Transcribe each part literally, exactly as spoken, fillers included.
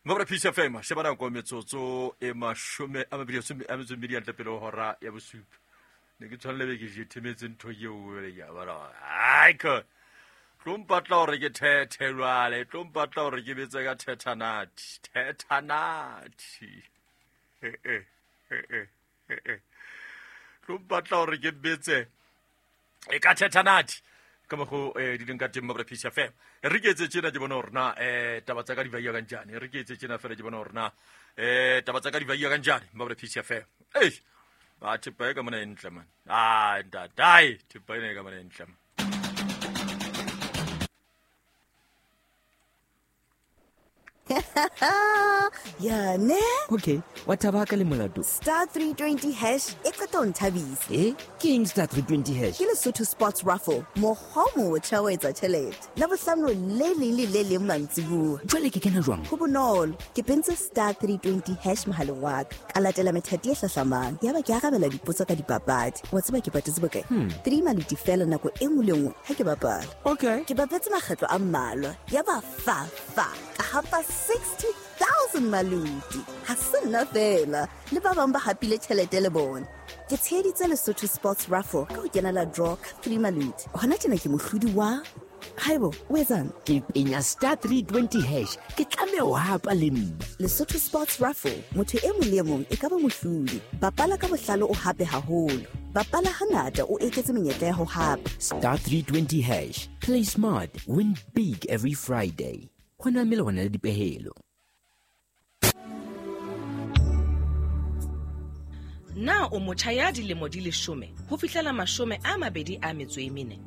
Mabra Peace F M, sheba nako metsotso e mashome a mabedi a metso e mmedi hantle pele ho hora ya bosupa. Ne ke tshwanela be ke jethemetse ntho eo ya bara. Ai ka. Tlo mpatla hore ke thethe jwale, tlo mpatla hore ke betse ka thethanati, thethanati. Eh eh eh eh eh. Tlo mpatla hore ke betse e ka thethanati. Ka mokgo eh di leng ka teng Mabra Peace F M. Re ke etse tjena ke bona hore na eh taba tsa ka di baiya kanjani. Re ke etse tjena fela ke bona hore na eh taba tsa ka di baiya kanjani Mabra Peace F M. Eish, ba thepa e ka mona e ntle man. Ah ntate, thepa ena e ka mona e ntle man. Ya ne? Okay, wa thaba ka le molato. Star three twenty hash e qeta ho nthabisa. Eh, ke eng star three twenty hash? Ke Lesotho Sports Raffle, mokgwa o motjha wa etsa tjhelete. Labohlano le leng le le leng mantsibuya. Jwale ke kena jwang? Ho bonolo, ke pentse star three twenty hash mohaleng wa ka. Ka latela methati e hlahlamang. Yaba ke arabela dipotso ka dipapadi. Wa tseba ke patetse bokae? Hmm. Three maluti fela nako e nngwe le nngwe ha ke bapala. Okay. Ke bapetse makgetlo a mmalwa. Yaba fa fa ka hapa sixty thousand maluti. Ha se nna fela, le ba bang ba hapile tjhelete le bona. Ke tsheheditse Lesotho Sports Raffle ka ho kenela draw ka three maluti. Hona tjena ke mohlodi wa Haibo, o etsang? Ke penya star three twenty hash, ke tlameha ho hapa le nna. Lesotho Sports Raffle, motho e mong le e mong e ka ba mohlodi. Bapala ka bohlale o hape haholo. Bapala hangata o eketse menyetla ya ho hapa. Star three twenty hash, play smart, win big every Friday. Hona mmele hona le dipehelo. Na o motjha ya dilemo di leshome ho fihlela mashome a mabedi a metso e mene?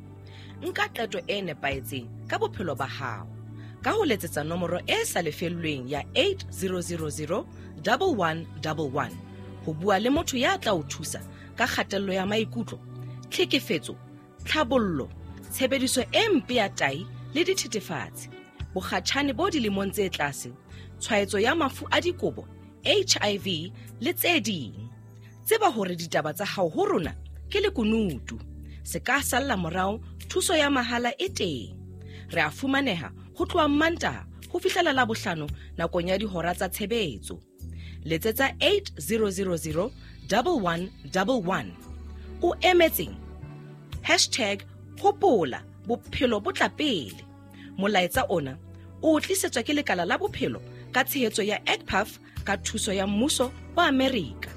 Nka qeto e nepahetseng ka bophelo ba hao ka ho letsetsa nomoro e sa lefellweng ya eight zero zero zero one one one one ho bua le motho ya tla o thusa ka kgatello ya maikutlo, tlhekefetso, tlhabollo, tshebediso e mpe ya tahi le dithethefatsi, bokgatjhane bo dilemong tse tlase, tshwaetso ya mafu a dikobo, H I V le tse ding. Tseba hore ditaba tsa hao ho rona ke lekunutu. Se ka salla morao, thuso ya mahala e teng. Re a fumaneha ho tloha Mantaha ho fihlela Labohlano nakong ya dihora tsa tshebetso. Letsetsa eight zero zero zero one one one one. O emetseng? Hashtag hopola bophelo bo tla pele. Molaetsa ona o tlisetswa ke lekala la bophelo ka tshehetso ya E C P A F ka thuso ya mmuso wa Amerika.